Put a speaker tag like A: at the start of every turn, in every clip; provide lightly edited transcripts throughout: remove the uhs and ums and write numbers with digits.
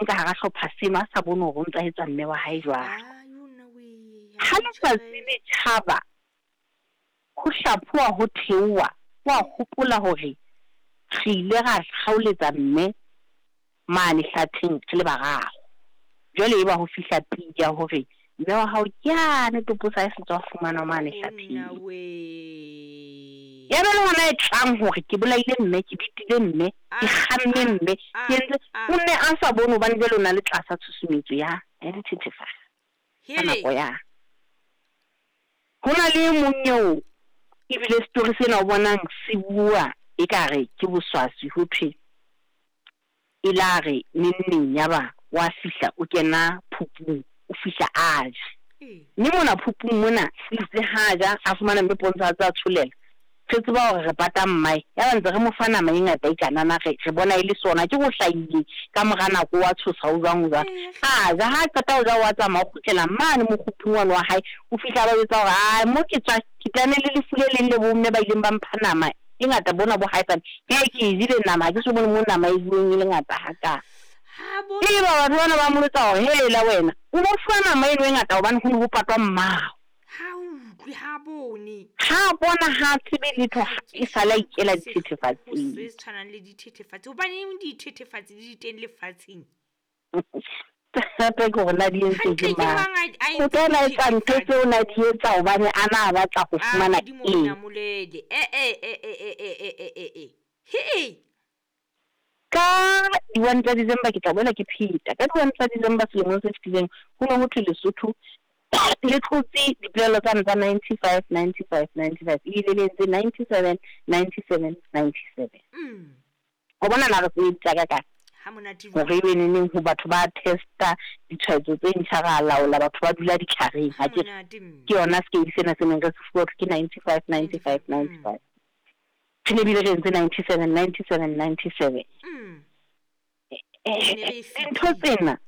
A: Ka hara hlopha seno a sa bone hore o ntsa etsa mme wa hae jwang.
B: Ah, yo nna wee,
A: Ha letsatsi le tjhaba, ho hlaphoha ho theoha, wa hopola hore re ile ra kgaoletsa mme mane hlatheng re le bararo. Jwale eba ho fihla pidi ya hore mme wa hao ke yane topo sa hae se tswa fumanwa mane hlatheng.
B: Nna wee.
A: Ya ba le hona e tlang hore ke bolaile mme, ke bitile mme, ke kgamme mme, ke entse o nne a sa bone hobane jwale o na le tlasa tshusumetso ya dithethefatsi ka nako ya. Ho na le e mong eo ebile story sena o bonang se bua ekare ke boswaswi ho thwe e la re neng neng yaba wa fihla o kena phupung, o fihla a ja. Mme mona phupung mona itse ha ja a fumana mme Pontsho a tsa tsholela. Re tseba hore re pata mmae, ya ba ntse re mo fa nama e ngata e kanana re bona e le sona ke ho hlahile ka mora nako wa tshosa o jwang o jwang. A ja ha qeta ho ja wa tsamaya o kgutlela mane mokgupung wane wa hae, o fihla ba jwetsa hore ai mo ke tswa ke tlane le lefu le leng le bomme ba ileng ba mpha nama e ngata bona bo haesale. Ke ke jele nama ha ke so bone mo nama e bueng e le ngata haka. E ba batho bana ba mo jwetsa hore hela wena o bo fuwa nama eno e ngata hobane ho ne ho patwa mmao.
B: Ha utlwe, ha bone.
A: Ha bona ha tsebe letho e sala ikela dithethefatsing.
B: Se tshwanang le dithethefatsi. Hobaneng dithethefatsi di teng lefatsheng?
A: Hape ke hore na di entse ke mang. O tla etsa ntho tseo na di etsa hobane a na batla ho fumana eng.
B: He.
A: Ka di-1 tsa December ke tla boela ke pheta. Ka di-1 tsa December selemong se fetileng ho ne ho thwe Lesotho le tlotse dipolelo tsane tsa 95 95 95 ebile le entse 97 97 97. Ho bona na re sebedisa ka kae? Hore ebe neneng ho batho ba testa ditshwaetso tse ntjha ra laola batho ba dula ditlhareng ha ke ke yona scale sena se neng re se fuwa ke 95 95 95. Re ne bile re entse 97 97 97. Dintho tsena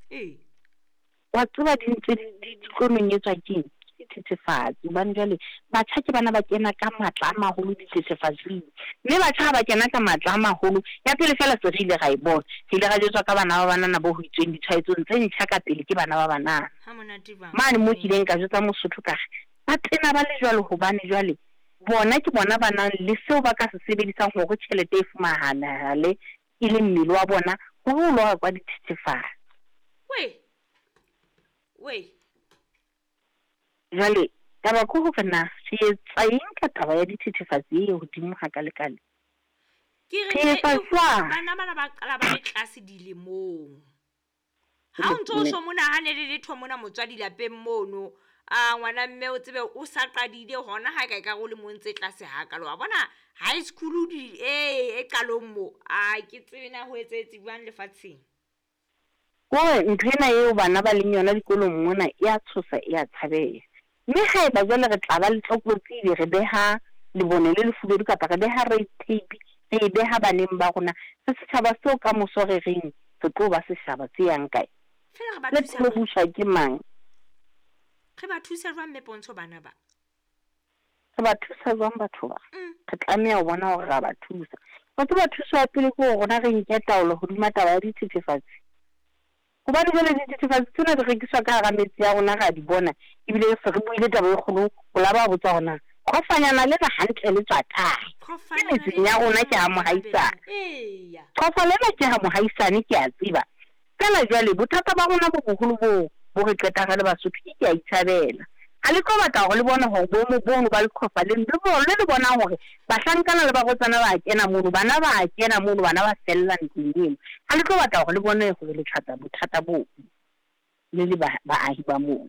A: wa tseba di ntse di tlo nonyetswa ke eng? Ke dithethefatsi. Hobane jwale batjha ke bana ba kena ka matla a maholo dithethefatsing. Mme batjha ha ba kena ka matla a maholo, ya pele fela se re ile ra e bona. Re ile ra jwetswa ka bana ba banana bo ho itsweng ditshwaetsong tse ntjha ka pele ke bana ba banana. Mane mo ke ileng ka jwetsa Mosotho ka re, ba tena ba le jwalo hobane jwale bona ke bona ba nang le seo ba ka se sebedisang hore tjhelete e fumanahale e le mmele wa bona hore o lo rekwa dithethefatsi.
B: Wei.
A: Jwale taba ke hore na re etsa eng ka taba ya dithethefatsi e hodimo hakalekale?
B: Ke re bana bana ba qala ba le tlase dilemong. Ha o ntso o so mona ha ne le letho mona motswadi lapeng mono, a ngwana mme o tsebe o sa qadile hona ha ka e ka go le mo ntse tlase hakalo. Wa bona high school di e qalong mo. A ke tsebe na ho etsetse jwang lefatsheng.
A: Hore ntho ena eo bana ba leng yona dikolong mona e a tshosa, e a tshabeha. Mme haeba jwale re tla ba le tlokotsi ebe re beha lebone le lefubedu kapa re beha red tape, re e beha baneng ba rona, re setjhaba seo ka moso re reng re tlo ba setjhaba se yang kae?
B: Feela re ba
A: Le
B: thusa
A: tlo buswa ke mang?
B: Re ba thusa jwang mme Pontsho bana ba?
A: Re ba thusa jwang batho ba? Re tlameha ho bona hore ra ba thusa. Wa tseba thuso ya pele ke hore rona re nke taolo hodima taba ya dithethefatsi. Hobane jwale dithethefatsi tsena di rekiswa ka hara metsi ya rona, ra di bona. Ebile se re buile taba e kgolo, o la ba botsa hore na qhofanyana lena hantle le tswa kae? Ke metseng ya rona ke ha mohaisane. Qhofa lena ke ha mohaisane, ke a tseba. Feela jwale bothata ba rona bo boholo bo bo re qetang re le Basotho ke ke a itshabela. Ha le tlo batla hore le bone hore boemo bono ba leqhofa le le le bonang hore bahlankana le barwetsana ba kena mono, bana ba kena mono, bana ba fella ntlong eno. Ha le tlo batla hore le bone hore le tlatsa bothata bo le le baahi ba moo.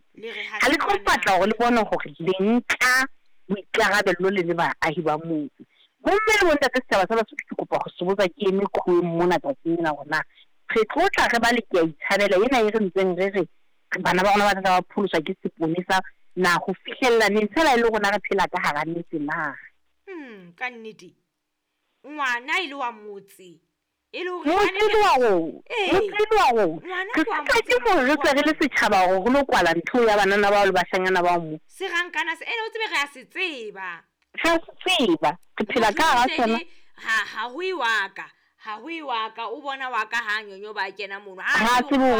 A: Ha le tlo batla hore le bone hore le nka boikarabello le le baahi ba moo. Bomme le bontate setjhaba sa Basotho ke kopa ho se botsa ke eme khueng mona tsatsing lena hore na re tlo tla re ba le ke a itshabela ena e re ntseng re re bana ba rona ba tla ba pholoswa ke seponesa na ho fihlella neng fela e le rona re phela ka hara metse na?
B: Ka nnete. Ngwana e le wa motse. E le hore
A: motse le wa rona. Motse le wa rona. Re sitwa ke hore re tswe re le setjhaba hore re lo kwala ntho ya banana bao le bashanyana bao mo.
B: Serankana se ene o tsebe re a se tseba.
A: Re a se tseba. Re phela ka hara sona.
B: Ha ho e wa ka. Ha ho e wa ka o bona wa ka ha nyonyo ba kena mono.
A: Ha tsebe